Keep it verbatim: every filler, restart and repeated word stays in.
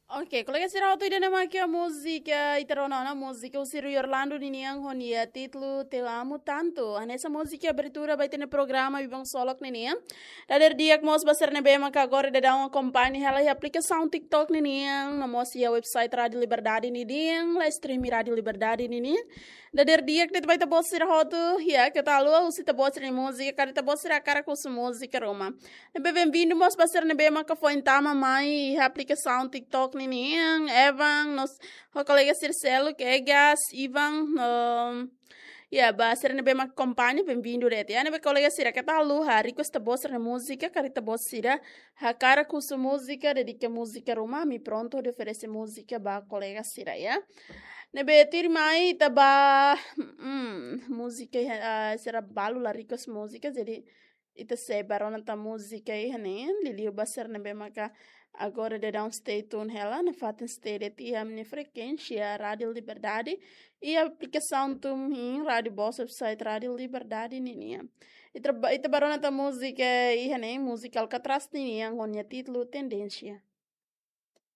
Ok, kolega sira hotu, ida-ne'e mak múzika ita rona ona, múzika husi Rui Orlando ninian ho nia títulu Te Amo Tanto. Hanesan múzika abertura ba ita-nia programa Biban Solok ninian. Dadeer di'ak mós ba sira ne'ebé maka agora daudaun akompaña hela iha aplikasaun TikTok ninian, no mós iha website Rádio Liberdade ninian, live stream Rádio Liberdade ninian. Dadeer di'ak de'it ba ita-boot sira hotu, ya, keta haluha husu ita-boot sira-nia múzika, karik ita-boot sira hakarak husu múzika ruma. Ne'ebé benvindu mós ba sira ne'ebé maka foin tama mai iha aplikasaun TikTok ninian, Evan, no mós kolega sira seluk, Egas, Ivan, no, ya, ba sira ne'ebé maka akompaña, benvindu de'it. Ya, ne'ebé kolega sira keta haluha request ita-boot sira-nia múzika, karik ita-boot sira hakarak husu múzika, dedika múzika ruma, ami prontu hodi oferese múzika ba kolega sira, ya. Ne'ebé tuirmai ita ba, mm, múzika, ah, sira balu la request múzika, jadi ita sei bá rona tan múzika iha ne'e, liuliu ba sira ne'ebé maka agora daudaun stay tune hela, nafatin stay de'it iha ami-nia frekuénsia Rádio Liberdade, iha aplikasaun tun hein Rádio Boss, website Rádio Liberdade ninian. Ita ba, ita bá rona tan múzika iha ne'e, múzika Alcatraz ninian ho nia títulu Tendência.